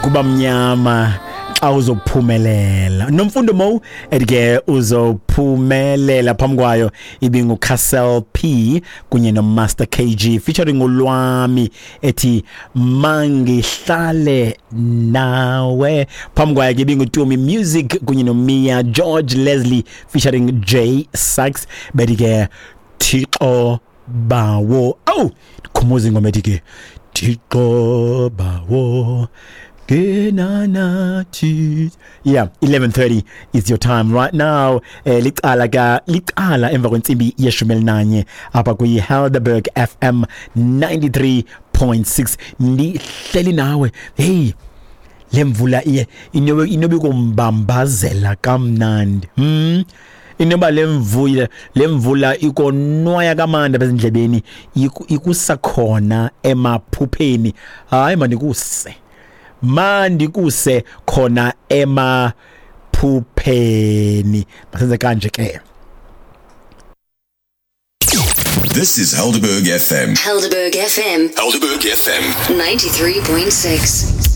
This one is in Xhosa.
Kuba mnyama xa uzophumelela. Nomfundo Mo ethi ke uzophumelela. Phambi kwayo ibinguCastle P kunye noMaster KG featuring uLwami ethi Mangihlale Nawe. Phambi kwayo ke ibinguTumi Music kunye noMia George Leslie featuring J Sachs bethi ke Thixo Bawo. Awu, khumuza ingoma ethi ke Thixo Bawo Genanathi. Yeah, 11:30 is your time right now. Licala ka licala emva kwentsimbi yeshumi elinanye apha kwi Helderberg FM 93.6, ndihleli nawe. Hey, lemvula iye inobe kumbambazela kamnandi. Inoba lemvula ikonwaya kamandi apha ezindlebeni, ikusa khona emaphupheni. Hayi, mandikuse khona emaphupheni. Masenze kanje ke. This is Helderberg FM. Helderberg FM. Helderberg FM. 93.6.